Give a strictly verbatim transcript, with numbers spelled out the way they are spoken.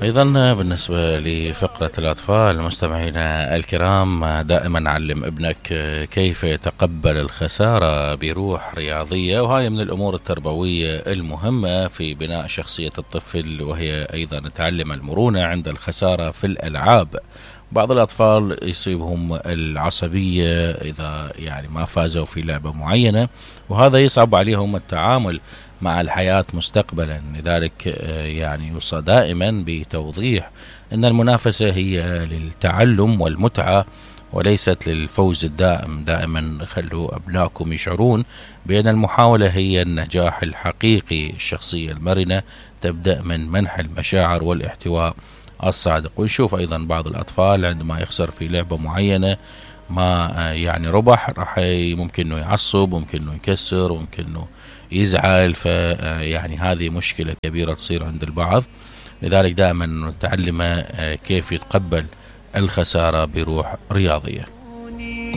أيضا بالنسبة لفقرة الأطفال مستمعينا الكرام، دائما علم ابنك كيف يتقبل الخسارة بروح رياضية، وهاي من الأمور التربوية المهمة في بناء شخصية الطفل، وهي أيضا تعلم المرونة عند الخسارة في الألعاب. بعض الأطفال يصيبهم العصبية إذا يعني ما فازوا في لعبة معينة، وهذا يصعب عليهم التعامل مع الحياة مستقبلا. لذلك يعني يوصى دائما بتوضيح أن المنافسة هي للتعلم والمتعة وليست للفوز الدائم. دائما خلوا أبنائكم يشعرون بأن المحاولة هي النجاح الحقيقي. الشخصية المرنة تبدأ من منح المشاعر والاحتواء الصادق. ونشوف أيضا بعض الأطفال عندما يخسر في لعبة معينة ما يعني ربح، راح ممكن أنه يعصب، ممكن أنه يكسر، ممكن أنه يزعل، فيعني هذه مشكلة كبيرة تصير عند البعض. لذلك دائما نتعلم كيف يتقبل الخسارة بروح رياضية.